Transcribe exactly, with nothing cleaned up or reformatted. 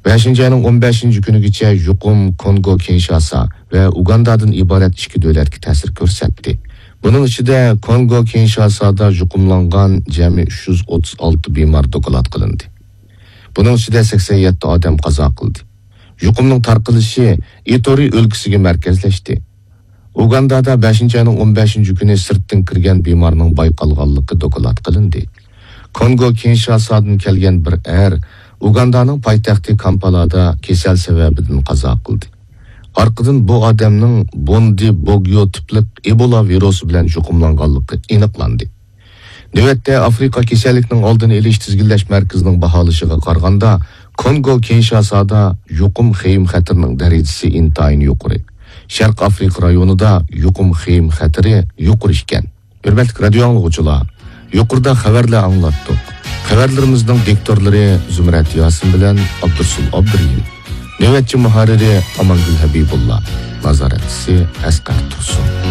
بەشىنچى ئاينىڭ ئون بەشىنچى كۈنىگىچە يۇقۇم كونگو كىنشاسا ۋە ئۇگاندادىن ئىبارەت ئىككى دۆلەتكە تەسىر كۆرسەتتى. بۇنىڭ ئىچىدە كونگو كىنشاسادا يۇقۇملانغان جەمئىي ئۈچ يۈز ئوتتۇز ئالتە بىمار دوكلات قىلىندى. بۇنىڭ ئىچىدە سەكسەن يەتتە ئادەم قازا قىلدى. يۇقۇمنىڭ تارقىلىشى ئىتورى ئۆلكىسىگە مەركەزلەشتى. ئۇگاندادا بەشىنچى ئاينىڭ ئون بەشىنچى كۈنى سىرتتىن كىرگەن بىمارنىڭ بايقالغانلىقى دوكلات قىلىندى. كونگو كىنشاسادىن كەلگەن بىر ئەر ئۇگاندانىڭ پايتەختى كامپالادا كېسەل سەۋەبىدىن قازا قىلدى. ئارقىدىن بۇ ئادەمنىڭ بوندى بوگيو تىپلىق ئىبولا ۋىرۇسى بىلەن يۇقۇملانغانلىقى ئېنىقلاندى. نۆۋەتتە ئافرىقا كېسەللىكنىڭ ئالدىنى ئېلىش تىزگىنلەش مەركىزىنىڭ باھالىشىغا قارىغاندا، كونگو كىنشاسادا يۇقۇم خېيىم خەتىرىنىڭ دەرىجىسى ئىنتايىن يۇقىرى. شەرقىي ئافرىقا رايونىدا يۇقۇم خېيىم خەتىرى يۇقىرى ئىكەن. ھۆرمەتلىك رادىيو ئاڭلىغۇچىلار، يۇقىرىدا خەۋەرلەر ئاڭلاتتۇق. خەۋەرلىرىمىزنىڭ دىكتورلىرى زۇمرەت ياسىن بىلەن ئابدۇرسۇل ئابدۇرېھىم. نۆۋەتچى مۇھەررىرى ئامانگۈل ھەبىبۇللا. نازارەتچىسى ئەسقەر تۇرسۇن.